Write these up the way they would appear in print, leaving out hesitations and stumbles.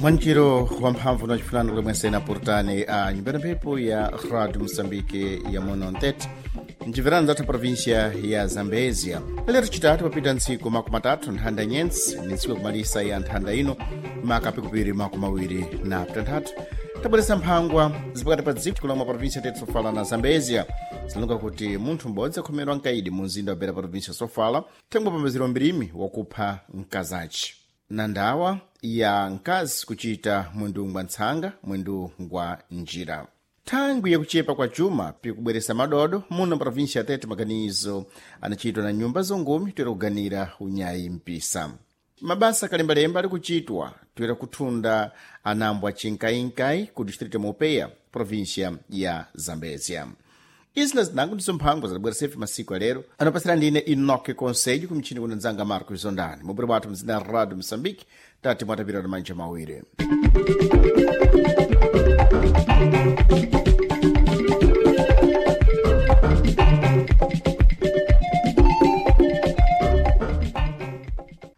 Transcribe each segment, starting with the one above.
Mwanjiro wa mphamvu na chifunano kulimwesena purutani a nyumba ya mphepo ya Radio Moçambique ya muno Ntete, mciverano zathu província ya Zambezia. Lero chitatu papita ntsiku 30 nthanda nyensi ni ntsiku yakumalisa ya nthanda ino maka pikupiri 26 tabweresa mphangwa zipakati pa dziko kulamwa província tete Sofala na Zambezia. Zilonga kuti munthu m'bodzi akhomerwa mkaidi mu mzinda wa Beira província Sofala thangwe pambaziro mbirimi wakupha mkazaci na ndawa ya mkazi kuchita mwindu ngwa ntsanga mwindu ngwa njira. Thangwi yakuchepa kwa chuma pikubweresa madodo muno província ya Tete maganizo anachitwa na nyumba zongumi toera kuganira unyayi mpisa. Mabasa kalembalemba ali kuchitwa toera kuthunda anambwa chinkainkai ku distrito Mopeya província ya Zambezia. Izi na zinango ndizo mphangwa zadabwera masiku alero anopasira ndine Enoque Conselho kumchini kuno nzanga Marcos Zondani mubwere bwathu mzina Radio Moçambique tati mwatapira na manja mawiri.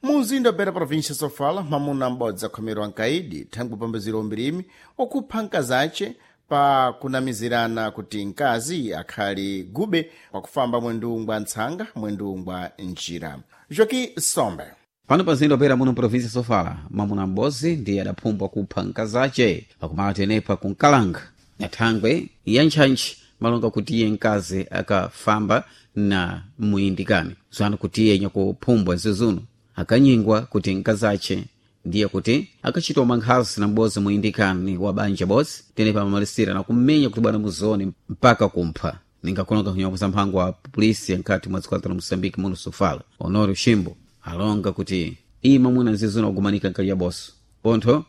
Muzinda wa Beira província Sofala, mwamuna m'bodzi akhomerwa mkaidi thangwi pambaziro umbirimi wakupha mkazace pa kunamizirana kuti mkazi akhali gube pakufamba mwendu ngwa ntsanga mwendu ngwa njira. Joki Sombe. Pano pa mzinda wa Beira muno província Sofala, mwamuna m'bodzi ndiye adaphumbwa kupha mkazace pakumala tenepa kunkalanga na thangwe ya ntchantchi malonga kuti iye mkazi akafamba na muyindikani zanu kuti iye nyakuphumbwa zizuno akanyingwa kuti mkazace ndiye kuti akachitwa mankhazi na m'bodzi muyindikani wa banja bodzi tenepa amamalisira na kummenya kuti bwana muzone mpaka kumpha ningakulonga kunyakuza mphango wa polisi nkati mwa dziko la Moçambique muno Sofala Honório Chimbo alonga kuti iye mwamuna nzizuno akumanika nkali ya boso pontho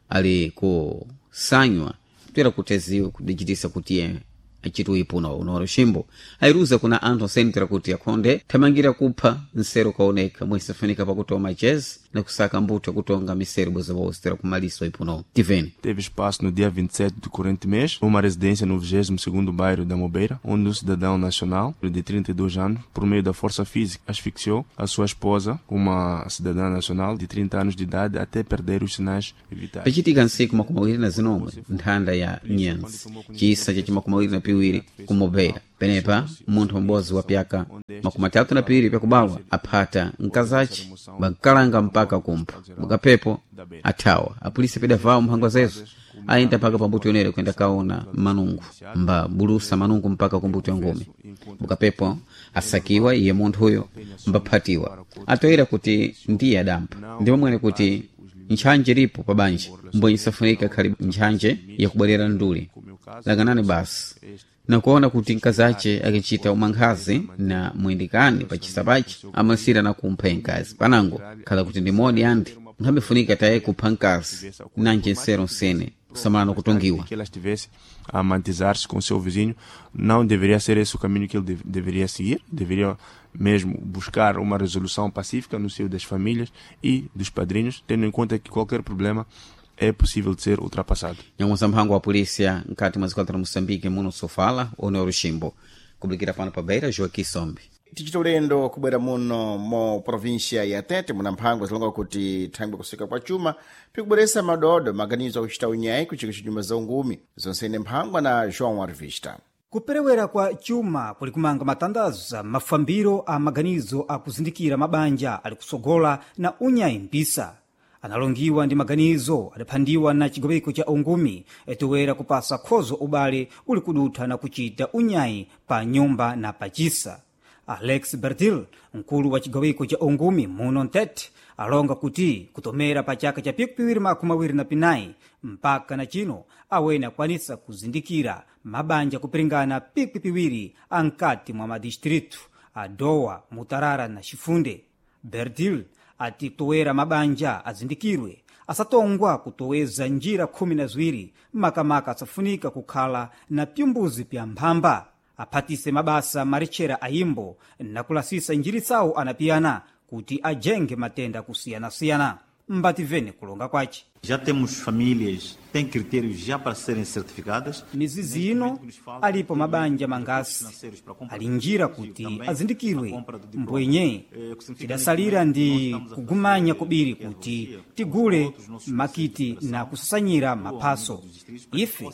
ali kusanywa toera kuteziwe kudichitisa kuti iye achiti uipuno Honório Chimbo ayiruza kuna anthu osentera kuti akhonde thamangira kupha nsero kaoneka mwesafunika pakutoma jazz na kusaka mbuto yakutonga misero bwezobose tera kumalisa uipuno tiveni. Teve espaço no dia 27 do corrente mês, numa residência no 22º bairro da Mobeira, onde um cidadão nacional de 32 anos, por meio da força física, asfixiou a sua esposa, uma cidadã nacional de 30 anos de idade, até perder os sinais vitais. Pachitika ntsiku 29 nthanda ya nyenzi chisa cha 22 ku Mobeira penepa munthu m'bodzi wa pyaka 32 pyakubalwa aphata mkazace bankalanga mpaka kumpha mukapepo athawa apolisi pedavawo mphangwa zezo ayenda mpaka pambuto yonere kuyenda kaona manungu mba bulusa manungu mpaka kumbuto ya ngumi bukapepo asakiwa iye munthu uyo mbaphatiwa atoyera kuti ndiye adampha ndipo mwene kuti ntchanje ilipo pa banja mbwenye safunika khali ntchanje yakubwerera nduli lakanani basi nakuona kuti mkazace akichita umankhazi na muyindikani pachisa pache amasira na kumpha mkazi panango khala kuti ndi modi andi nkhambifunika taye kupha mkazi nanje nsero nsene kusamala nokutungiwa. Que ela estivesse a amantizar-se com o seu vizinho, não deveria ser esse o caminho que ele deveria seguir, deveria mesmo buscar uma resolução pacífica no seio das famílias e dos padrinhos, tendo em conta que qualquer problema é possível de ser ultrapassado. Nyamuza mphango wa polícia nkati mwa dziko la Moçambique muno Sofala Honório Chimbo kublikira pano pa Beira Joaquim Sombe. Tichita ulendo kubwera muno mu província ya Tete muna mphangwa zilonga kuti thangwi kusika kwa chuma pikubweresa madodo maganizo akuchita unyayi kuchika nyumba za ungumi zonsene mphangwa na João Arvista. Kuperewera kwa chuma kuli kumanga matandaza mafambiro a maganizo akuzindikira mabanja ali kusogola na unyayi mpisa analongiwa ndi maganizo adaphandiwa na chigobeko cha ungumi toera kupasa khozo ubale uli kudutha na kuchita unyayi pa nyumba na pachisa. Alex Bertil, mkulu wa chigawiko cha ungumi muno Ntete, alonga kuti kutomera pa chaka cha 2024 mpaka na chino awene akwanisa kuzindikira mabanja kupiringana 200 ankati mwa madistritu a Dowa, Mutarara na Chifunde. Bertil ati kutowera mabanja azindikirwe asatongwa kutoweza njira 12 makamaka asafunika kukhala na pyumbuzi pya mphamba aphatise mabasa maretchera ayimbo nakulasisa njiri tsawo anapiyana kuti ajenge matenda kusiyanasiyana. Mbativene kulonga kwace. Já temos famílias, têm critérios já para serem certificadas. Mizizi ino alipo mabanja mangasi alinjira kuti azindikirwe mbwenye tidasalira ndi kugumanya kubiri kuti tigule makiti na kusasanyira maphaso. Ife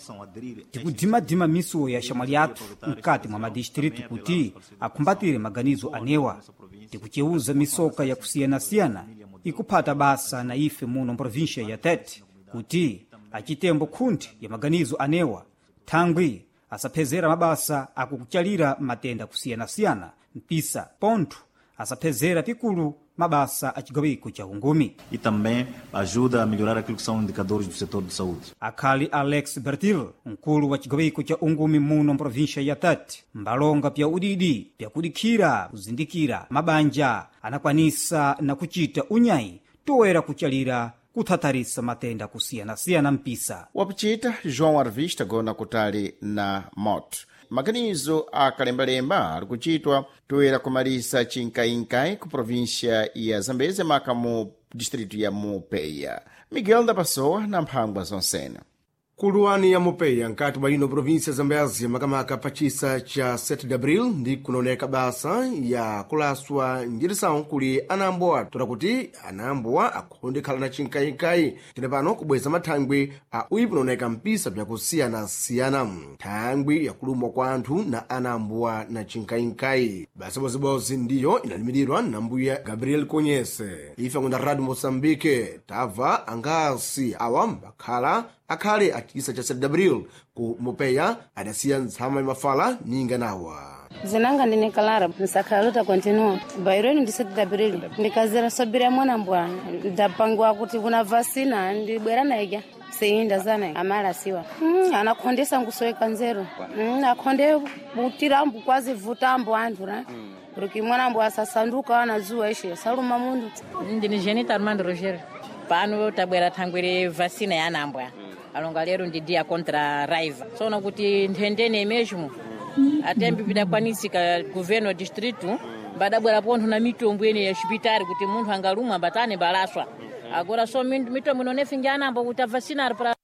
tikudimadima misuwo ya shamwali yathu mkati mwa madistritu kuti akumbatire maganizo anewa. Tikuceuza misoka yakusiyanasiyana ikuphata basa na ife muno mprovinsia ya Tete kuti achitembo khundi ya maganizo anewa thangwi asaphezera mabasa akukuchalira matenda kusiyanasiyana mpisa pontho asaphezera pikulu mabasa a chigawiko cha ungumi. E também ajuda a melhorar aquilo que são indicadores do setor de saúde. Akhali Alex Bertil, mkulu wa chigawiko cha ungumi muno mprovinsia ya Tete, mbalonga pya udidi pyakudikhira kuzindikira mabanja anakwanisa na kuchita unyayi toera kuchalira kuthatharisa matenda kusiyanasiyana mpisa. Wapichita João Arvista gona kutali na moto. Maganizo akalembalemba ali kuchitwa toera kumalisa chinkainkai ku província ya Zambeze maka mu distrito ya Mupeya. Miguel da Pessoa na mphangwa zonsena. Kuluwani ya Mopeya nkati mwa ino província ya Zambézia makamaka pachisa cha 7 de abril ndi kunaoneka basa ya kulaswa njirisawu kuli anambowa toda kuti anambowa akhonde khala na chinkayinkayi tene pano kubweza mathangwi a uyi kunaoneka mpisa byakusiyanasiyana thangwi yakulumwa kwa anthu na anambowa na chinkayinkayi basa bozibozi ndiyo inalimirirwa na mbuya Gabriel Konyese. Ife akunda Radio Moçambique tava angasi awa mbakhala akhale achisa cha 7 abril ku Mopeya adasiya ntsama mafala ninga nawa. Zinanga ndine Clara nsakhaluta continua bairweni ndi 7 abril ndikazira sobira mwana mbwa ndapangwa kuti kuna vasina ndibwera naija seinda zana amala siwa anakhondesa nkusoweka nzeru akhonde butirambu kwazi vutambo anthu ra porque mwana mbwa asasanduka anazuwa ishe saluma mundu. Ndine Jenita Armando Roger. Pano tabwera thangwere vacina ya anambwa alonga lero ndi dia contra raiva sono kuti nthendene mesmo atembi pidakwanisika governo distrito badabwera pontho na mitombo ene ya xipitari kuti munthu angalumwa batane balaswa agora so mitombo inonefinja anambwa kuti avacinare para.